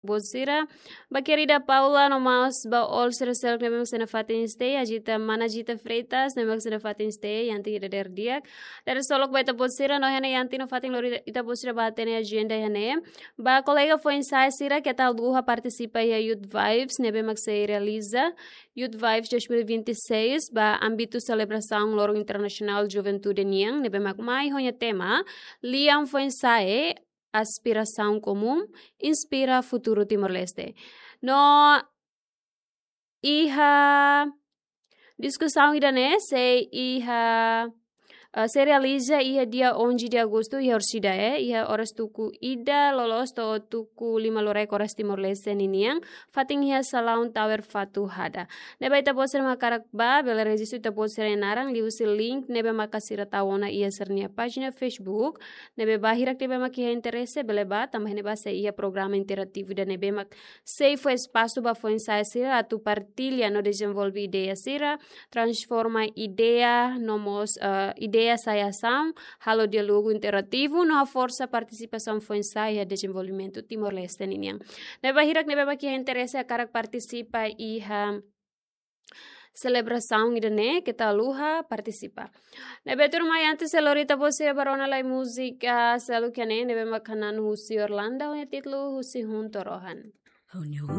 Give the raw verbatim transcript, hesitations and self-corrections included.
ita-boot sira, ba kerida Paula no mós ba all sira seluk ne'ebé mak sei nafatin stay, Ajita, mana Ajita Freitas ne'ebé mak sei nafatin stay, iha ita-nia dadeer di'ak. Dadeer-solok ba ita-boot sira, no iha ne'e iha ita-nia fatin lori ita-boot sira ba hatene ajenda iha ne'e. Ba kolega foin-sa'e sira, keta haluha partisipa iha Youth Vibes ne'ebé mak sei realiza, Youth Vibes dois mil e vinte e seis, ba ámbitu selebrasaun Loron Internasionál Juventude nian, ne'ebé mak mai ho nia tema, Lian Foin-sa'e, Aspirasaun Komún, Inspira Futuru Timor-Leste. No iha diskusaun ida-ne'e sei iha, eh, sei realiza iha dia onze de agosto, iha orsida, eh, iha oras tuku ida loloos to'o tuku lima lorokraik oras Timor-Leste ninian, fatin iha salaun Tower Fatuhada. Ne'ebé ita-boot sira mak hakarak ba, bele rejistu ita-boot sira-nia naran liuhusi link ne'ebé maka sira tau ona iha sira-nia pájina Facebook, ne'ebé ba hirak ne'ebé mak iha interese, bele ba, tanba iha ne'ebá sei iha programa interativu ida ne'ebé mak sei fó espasu ba foin-sa'e sira atu partilla no dezenvolve ideia sira, transforma ideia no mós, eh, ideia sai asaun, halo diálogu interativu no haforsa partisipasaun foin-sa'e iha dezenvolvimentu Timor-Leste ninian. Ne'ebé ba hirak ne'ebé mak iha interese hakarak partisipa iha selebrasaun ida-ne'e, keta haluha partisipa. Ne'ebé tuirmai, antes sei lori ita-boot sira ba rona lai múzika seluk iha ne'e, ne'ebé mak hanan husi Orlando, ho nia títulu Husi Hunto Rohan.